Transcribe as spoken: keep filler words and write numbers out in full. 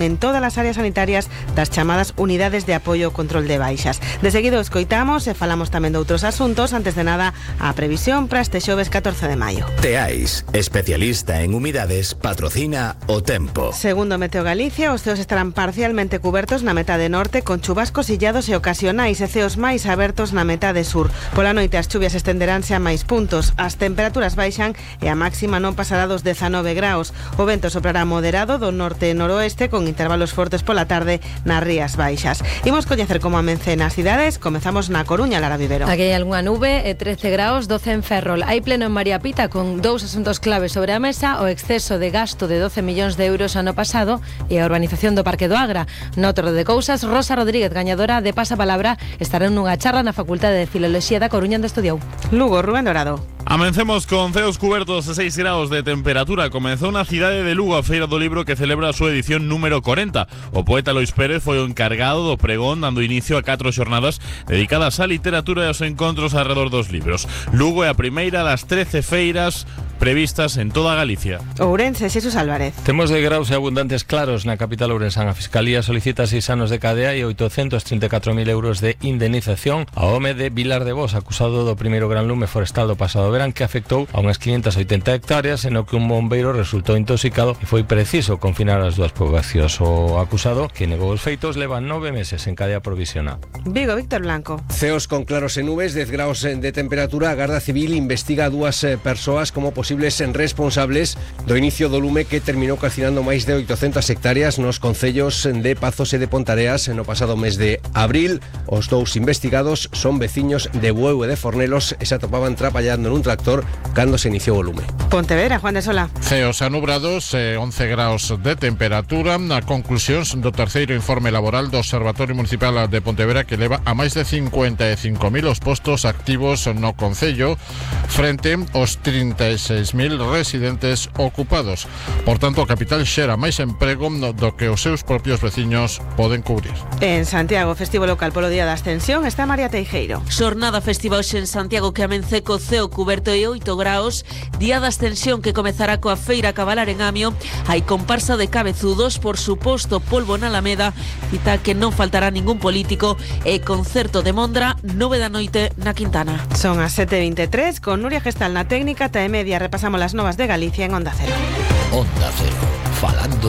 en todas as áreas sanitarias das chamadas unidades de apoio ao control de baixas. De seguido escoitamos e falamos tamén de outros asuntos. Antes de nada, a previsión para este xoves catorce de maio. Teais, especialista en humidades, patrocina o tempo. Segundo Meteo Galicia, os ceos estarán parcialmente cubertos na metade norte con chubascos illados e ocasionais e ceos máis abertos na metade sur. Pola noite as chuvias estenderánse a máis puntos, as temperaturas baixan e a máxima non pasará dos dezanove graus. O vento soprará moderado do norte e noroeste con intervalos fortes pola tarde nas rías baixas. Imos coñecer como amencen nas cidades. Comezamos na Coruña, Lara Vivero. Aquí hai algunha nube e trece graus, doce en Ferrol. Hai pleno en María Pita con dous asuntos claves sobre a mesa: o exceso de gasto de doce millóns de euros ano pasado e a urbanización do Parque do Agra. Noutro de cousas, Rosa Rodríguez, gañadora de Pasapalabra, estará nunha charla na Facultade de Filoloxía da Coruña onde estudiou. Lugo, Rubén Dorado. Amencemos con ceos cubertos e seis graus de temperatura. Comezou na cidade de Lugo a Feira do Libro, que celebra a súa edición número corenta. O poeta Lois Pérez foi o encargado do pregón, dando inicio a catro xornadas dedicadas á literatura e aos encontros alrededor dos libros. Lugo é a primeira das trece feiras previstas en toda Galicia. Ourense, Xesús Álvarez. Temos de graus e abundantes claros na capital ourensán. A Fiscalía solicita seis anos de cadea e oitocentos trinta e catro mil euros de indemnización ao home de Vilar de Bos, acusado do primeiro gran lume forestal do pasado verán, que afectou a unhas quinhentas oitenta hectáreas, en o que un bombeiro resultou intoxicado e foi preciso confinar as dúas poboacións. O acusado, que negou os feitos, leva nove meses en cadea provisional. Vigo, Víctor Blanco. Ceos con claros e nubes, dez graus de temperatura. A Garda Civil investiga a dúas persoas como posibles responsables do inicio do lume que terminou calcinando máis de oitocentas hectáreas nos concellos de Pazos e de Pontareas no pasado mes de abril. Os dous investigados son veciños de Bueu e de Fornelos e se atopaban traballando nun tractor cando se iniciou o lume. Pontevedra, Juan de Sola. Ceos anubrados e once graus de temperatura. Na conclusións do terceiro informe laboral do Observatorio Municipal de Pontevedra, que leva a máis de cincuenta e cinco mil os postos activos no concello frente aos trinta e seis mil residentes ocupados. Por tanto, a capital xera máis emprego do que os seus propios veciños poden cubrir. En Santiago, festivo local polo Día da Ascensión, está María Teijeiro. Xornada festiva hoxe en Santiago, que amencé co ceo cuberto e oito graus. Día da Ascensión que comezará coa feira a cabalar en Amio. Hai comparsa de cabezudos, por suposto polvo na Alameda, cita que non faltará ningún político, e concerto de Mondra, nove da noite na Quintana. Son as sete e vinte e tres, con Nuria Gestal na técnica, ta e media repasamos las novas de Galicia en Onda Cero. Onda Cero, falando